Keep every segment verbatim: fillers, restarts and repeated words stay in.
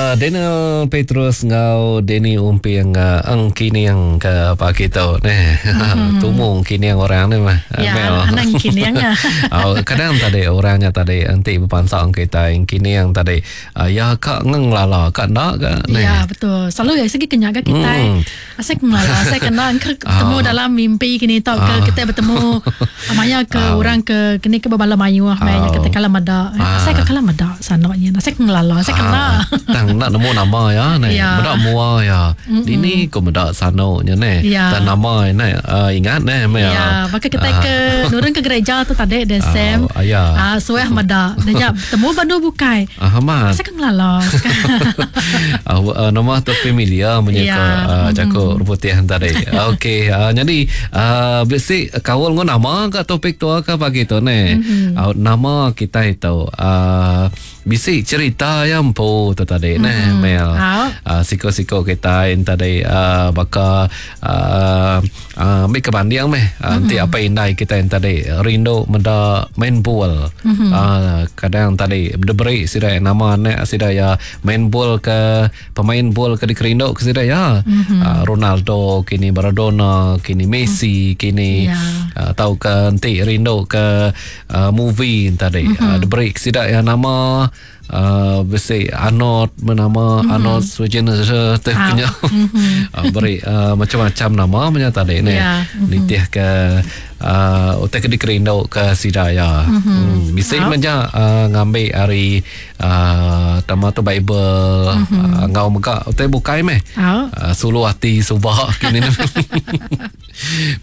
Uh, Daniel Petrus ngau Danny Umping uh, engkining ke pagi tu neh. Mm-hmm. Tumu engkining orang ni mah. Ya, anak engkining ya. Oh, kadang tadi orangnya tadi enti berpansang kita engkining tadi uh, ya kak ngelala kak nak ke neh. Ya, betul. Selalu ya segi kenyaga kita. Mm. Asal ngelala, saya kena ketemu oh. dalam mimpi kini tau ke oh. kita bertemu amanya ke oh. orang ke kini ke berbala mayuh oh. mai kita kalah mada. Asal ke kalah mada sanoknya. Asal ngelala, asal kena. Tang nak nemu nama ya ne. Ya. Medak mua ya. Dini ko medak sanoknya ne. Ya. Dan nama ne uh, ingat ne me. Ya, maka kita uh. ke nurun ke gereja tu tadi dan uh, Sam. Uh, ya. Ah suah medak. Dia temu bandu bukai. Ah uh, Asal ke ngelala. uh, uh, nama tu familiar menyeka ya. uh, jago putih tadi. Okey, uh, jadi uh, bisi kaul ngau nama ke topik tu ke pagi tu ne. Mm-hmm. Uh, nama kita itu uh, bisi cerita yang empu tu tadi mm-hmm. neh Mel. Uh, siko-siko kita yang tadi uh, baka uh, uh, ambil kebanding meh. Uh, mm-hmm. Nanti apa indai kita yang tadi rindu menda main bol. Mm-hmm. Uh, kadang tadi diberi sida nama anak sida ya main bol ke pemain bol ke dikerindu ke sida ya. Mm-hmm. Uh, Ronaldo kini Maradona kini Messi mm. kini yeah. uh, tau ke nanti rindu ke uh, movie tadi. Mm-hmm. Uh, diberi sida ya nama Uh, besi Arnold bernama mm-hmm. Arnold Schwarzenegger tu punya mm-hmm. uh, beri uh, macam-macam nama punya tadi ni yeah. mm-hmm. nitih ke uh, utai ke dikerindu ke sida ya. Mm-hmm. Hmm. Bisi oh. macam uh, ngambil hari uh, tema tu Bible mm-hmm. uh, ngau mega utai bukai meh. Oh. Uh, sulu hati subak kini.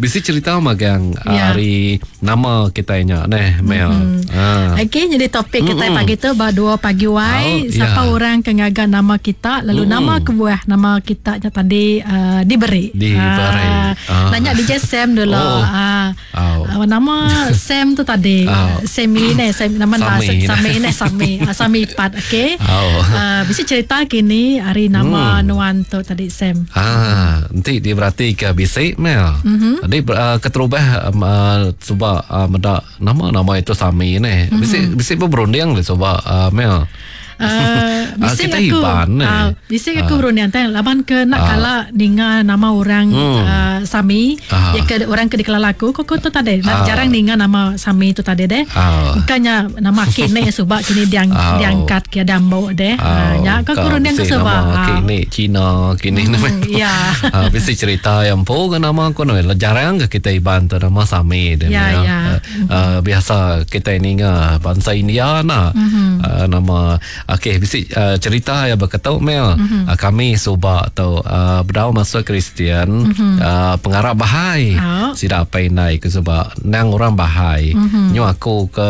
Bisi cerita magang yeah. hari nama kita nya neh Mel. Mm-hmm. Uh. Okey, jadi topik kita mm-hmm. pagi tu ba dua pagi wai, oh, siapa yeah. orang ke ngaga nama kita lalu mm. nama kebuah nama kita nya tadi uh, diberi. Diberi. Uh, uh. Nanya D J Sam dulu. Oh. Uh, oh. Uh, nama Sam tu tadi. Oh. Sami ne Sam nama Sami Sami ne Sami. Uh, Sami Pat okey. Oh. Uh, bisa cerita kini hari nama mm. nuan tu tadi Sam. Ah, nanti dia berarti ke bisik Mel. Mm-hmm. Jadi uh, keterubah um, uh, cuba uh, medak nama-nama itu Sami ne. Mm-hmm. Bisik bisik berunding le cuba uh, Mel. Uh, bisik kita aku Iban, uh, bisik aku uh. berunding tang laban ke nak uh. kala ninga nama orang mm. uh, Sami uh. ya ke orang ke dikelala aku kok tu tadi uh. jarang ninga nama Sami tu tadi deh. Uh. Bukannya nama kini subak kini diang, uh. diangkat ke dambo deh. Uh. Uh, ya kau berunding ke subak. Nama kini Cina kini mm, ya. Uh, bisik cerita yang po ke nama aku no jarang ke kita Iban tu nama Sami deh. Ya, ya. Uh, uh, biasa kita ninga bangsa India nah. Mm-hmm. Uh, nama okey bisik uh, cerita ya berketuk Mel. Mm-hmm. Uh, kami subak tu uh, bedau masuk Kristian, mm-hmm. uh, pengarap Bahai. Oh. Sida apa indai ke subak nang orang Bahai. Mm-hmm. Nyu aku ke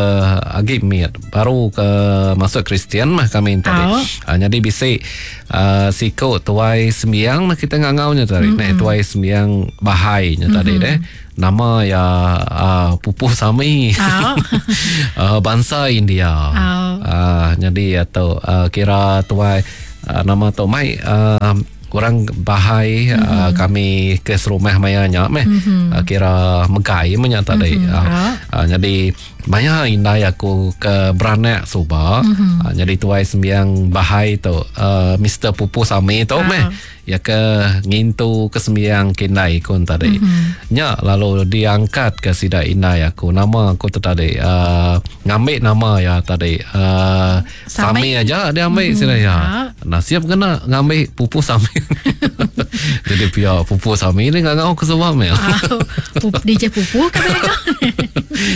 agi miat baru ke masuk Kristian mah kami tadi. Oh. Uh, jadi bisik uh, siko tuai sembiang mah kita ngangaunya tadi. Mm-hmm. Neh tuai sembiang Bahai nya mm-hmm. tadi deh. Nama ya uh, Pupuh Sami. Oh. uh, bangsa India. Oh. Uh, jadi atau uh, kira tuai uh, nama tu mai uh, orang Bahai mm-hmm. uh, kami ke serumah maya nya meh mm-hmm. uh, kira megai menya tadi. Mm-hmm. Uh, Oh. uh, jadi maya indai aku ke beranak suba mm-hmm. uh, jadi tuai sembiang Bahai tu uh, Mister Pupuh Sami tu Oh. meh ya ke ngintu ke sembiang kindai kun tadi. Mm-hmm. Nya lalu diangkat ke sida indai aku nama aku tu tadi uh, ngambil nama ya tadi uh, Sami. Sami aja dia ambil Mm-hmm. sida ya. Ah. Nah siap kena ngambil Pupuh Sami. Jadi pia Pupuh Sami ni ngangau ke sebab mel. Ah, D J Pupuh kan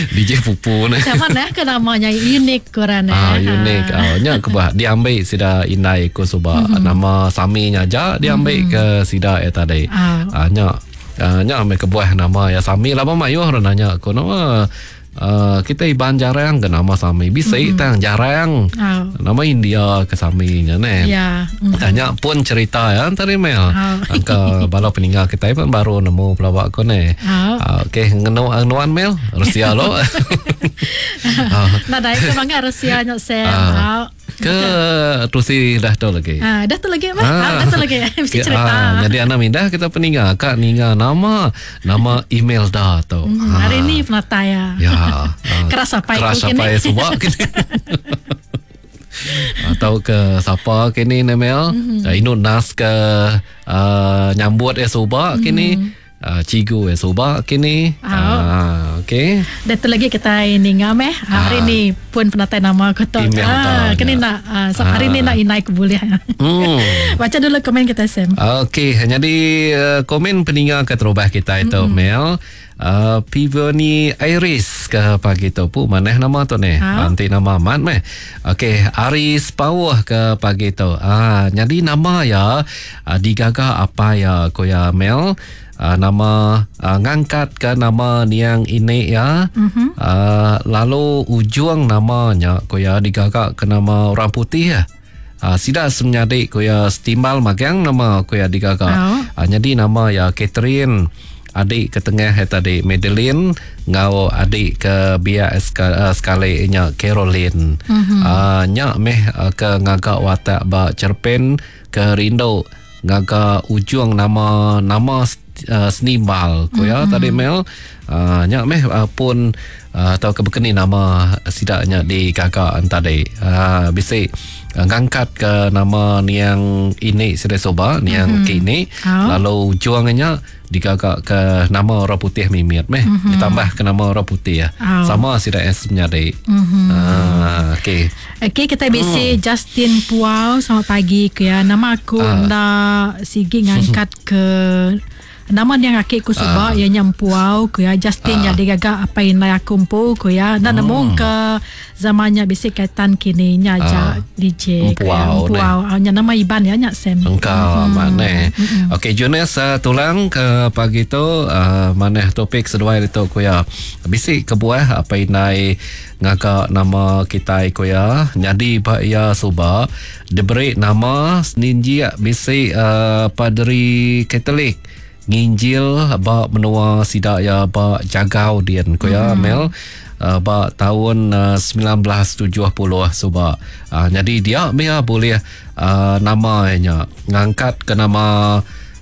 D J Pupuh ni. Sama nah ke namanya unik kurang Ah unik. Ah nya ke bah diambil sida indai ku suba Mm-hmm. nama Sami nya aja dia ambil Mm-hmm. ke sida ya tadi. Ah. Ah nya ah, nya ambil ke buah nama ya Sami lama mayuh orang nanya aku nama uh, kita Iban jarang ke nama Sami. Bisik Mm-hmm. tang jarang. Ah. Nama India ke Sami nya ne. Ya. Mm. Tanya pun cerita ya tadi Mel. Ah. Angka bala peninggal kita pun baru nemu pelawak ko ne. Ah. Ah, okey ngenu nuan Mel Rusia lo. Ah. Nah, dai ke bangga Rusia nya Sam. Ah. Ah. Ke tusi dah tu lagi. Ah, dah tu lagi mah. Ah, dah tu lagi. Mesti Ya, cerita. ah, jadi anak mindah kita peninggal kak ninga nama nama email dah tu. Hmm, Ah. hari ni penata ya. Ya. ah. Keras apa Keras itu apa kini? subak kini. Atau ke siapa kini Nemel mm-hmm. uh, Inu Nas ke uh, nyambut ya suba mm-hmm. kini uh, cigu ya suba kini. Oh. Uh, okey. Dan tu lagi kita ninga meh hari ah. ni pun penatai nama aku tu. Ah, kini nak uh, so hari ni nak inai ku boleh. Hmm. Baca dulu komen kita Sam. Okey, jadi uh, komen peninga ke terubah kita itu mm-hmm. Mel. Uh, Pivoni Iris ke pagi tu pu maneh nama tu ni. Ha? Nanti nama amat meh. Okey, Aris Pauh ke pagi tu. Ah, jadi nama ya uh, digaga apa ya koya Mel. Uh, nama uh, ngangkat ke nama niang ini ya. Mm-hmm. Uh, lalu ujung namanya koya digaga ke nama orang putih ya. Uh, sida semenyadik koya setimbal magang nama koya digaga. Oh. Uh, jadi nama ya Catherine, adik ke tengah ya tadi Madeline, ngau adik ke biak uh, sekali nya Caroline. Mm-hmm. Uh, nya meh uh, ke ngagak watak ba cerpen ke rindu ngaga ujung nama nama uh, senimbal ko ya Mm-hmm. tadi Mel. Uh, nya meh uh, pun uh, atau ke bekeni nama sidaknya digaga tadi. Uh, bisi uh, ngangkat ke nama niang ini sida soba niang Mm-hmm. kini Oh. lalu ujungnya digaga ke nama orang putih mimit meh Mm-hmm. ditambah ke nama orang putih ya. Oh. Sama sida es menyadi. Mm-hmm. Uh, okey. Okey, kita bisi Hmm. Justin Puau, selamat pagi ke ya. Nama aku Ah. nda sigi ngangkat ke nama dia ngakik ku suba Ah. ia nya Puau ku ya Justin Ah. nya digaga apa inai aku empu ku ya. Nda Hmm. nemu ke zamannya bisi kaitan kini nya aja Ah. D J ku ya. Empuau, Empuau. Ah, nya nama Iban ya nya Sam. Engkau hmm. Mana Okey Jonas uh, tulang ke pagi tu uh, maneh topik seduai itu ku ya. Bisi kebuah apa inai ngagak nama kita ku ya. Jadi ba ya suba diberi nama seninjik bisi uh, padri Katolik nginjil ba menua sidak ya ba jagau dian ku ya Mm-hmm. Mel. Uh, ba tahun uh, sembilan belas tujuh puluh suba. Uh, jadi dia mia boleh uh, namanya ngangkat ke nama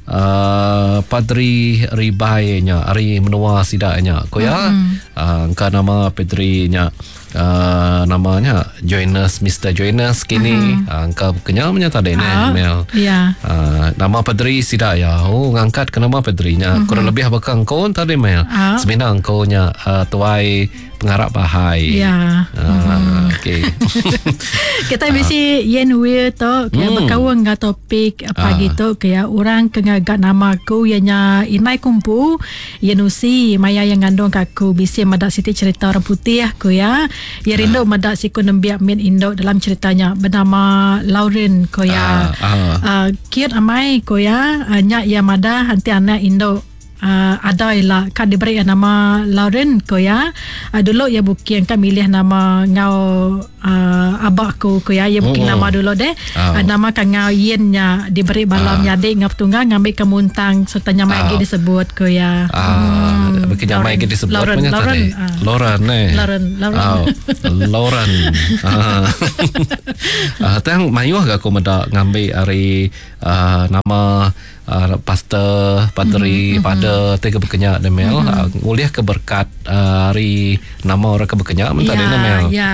uh, Padri Ribai nya ari menua sidaknya ko ya. Mm-hmm. Uh, engka nama Padri nya uh, namanya Joinus Mister Joinus kini. Mm-hmm. Uh, engka kenya nya tadi ne Ah, Mel. Ya. Uh, nama Padri sidak ya. Oh ngangkat ke nama Padrinya. Mm-hmm. Kurang lebih bakal engkau tadi Mel. Ah. Semina engkau nya uh, tuai pengarap bahai. Ya. Ah, okey. Kita bisi Yen Will tu kaya Hmm. berkawan dengan topik pagi Ah. tu kaya orang ke ngagak nama aku ianya Inai Kumpu Yen Usi maya yang ngandung ke aku bisi madak siti cerita orang putih aku ya. Ya rindu madak siku nembiak min induk dalam ceritanya bernama Lauren ko ya. Ah, ah. Uh, kiut amai ko ya uh, nyak ya madah nanti anak induk Uh, ada lah kan diberi nama Lauren ko ya. Uh, dulu ya bukin kan milih nama ngau uh, abak ku ko ya ya bukin Oh. nama dulu deh. Ah. Uh, nama kan ngau yen nya diberi balam Ah. nyadik ngau tunggang ngambil ke muntang serta nyamai Ah. lagi disebut ko ya. Ah, hmm, nyamai Lauren. ke disebut Lauren, punya Lauren, tadi. ah. Lauren eh. Lauren, Lauren. Oh, Lauren. Ah. Ah, tang mayuh gak aku meda ngambil ari uh, nama uh, pastor, padri, Mm-hmm, pada tiga berkenyak deh Mel. Uh, ngulih ke berkat uh, hari nama orang ke berkenyak men tadi Ya, Mel. ya.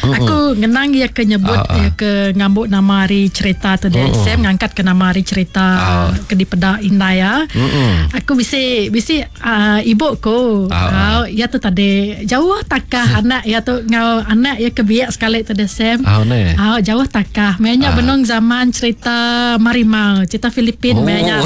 Aku ngenang ia ke nyebut Ah, ah. ia ke ngambuk nama hari cerita tu dia. Mm-mm. Sam ngangkat ke nama hari cerita Ah. ke dipeda inai ya. Mm-mm. Aku bisi bisi uh, ibu ku. Ah, ah. Uh, ya tu tadi jauh takah anak ya tu ngau anak ya ke biak sekali tu dia Sam. Ah, ne. Ah, jauh takah. Mainnya Ah. benung zaman cerita Marimau, cerita Filipin Oh. mainnya.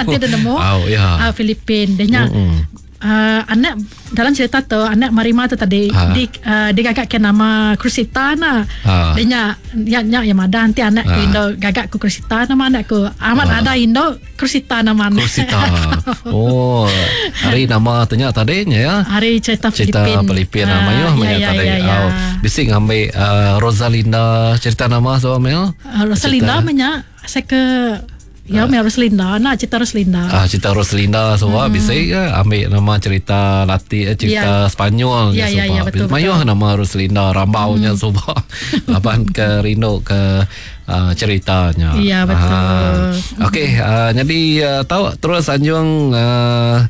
Dia dah nemu. Oh, ya. Ah, Filipin. Dia nya Mm-mm. uh, anak dalam cerita tu anak Marima tu tadi Ah. di uh, digagak ke nama Krusita na. Ah. Dia nya nya nya yang ada nanti anak ku Ah. Indo gagak ku Krusita nama anak ku. Amat Ah. ada Indo Krusita nama anak. Krusita. Oh, hari nama tanya tadi nya ya. Hari cerita Cerita Filipin. Filipin Ah, ah, mayuh ya, mayuh ya, tadi. ya, ya. Oh, bisi ngambil uh, Rosalinda cerita nama so Mel. Uh, Rosalinda Cerita- menya saya ke ya uh. Rosalinda nak cerita Rosalinda. Ah, cerita Rosalinda semua hmm. bisa ke ambil nama cerita Latin eh, cerita Ya. Sepanyol Ya, ya, ya, betul, Mayuh betul. nama Rosalinda rambaunya hmm. semua. Laban ke rindu ke uh, ceritanya. Ya, betul. Ah, Okey, uh, jadi uh, tahu terus anjung uh,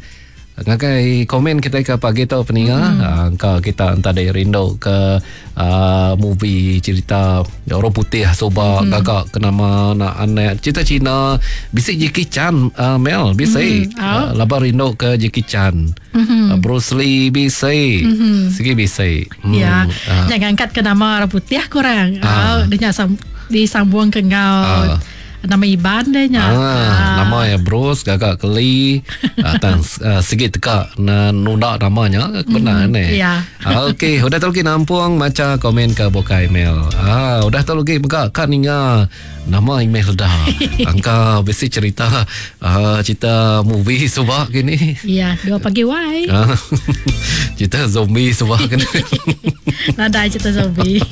Ngagai komen kita ke pagi tu peninga, mm. uh, engka kita entah dek rindu ke uh, movie cerita orang putih soba mm. gagak ke nama nak anak cerita Cina bisi Jackie Chan uh, Mel bisi mm. oh. uh, laba rindu ke Jackie Chan mm-hmm. uh, Bruce Lee bisi mm-hmm. sigi bisi mm. Ya uh. Jangan angkat ke nama orang putih kurang uh. Oh, dia sam- disambung ke ngau uh. Nama Iban deh nya. Ah, ah. Nama ya Bruce gagak keli ah, tang uh, segi teka na nunda namanya kebenar mm, ni. Ya. Ah, okey, udah tu lagi nampung maca komen ke buka email. Ah, udah tu lagi mega kan ninga nama email dah. Angka besi cerita uh, cerita movie subak gini. Ya, dua pagi wai. Ah, cerita zombie subak gini. Nadai cerita zombie.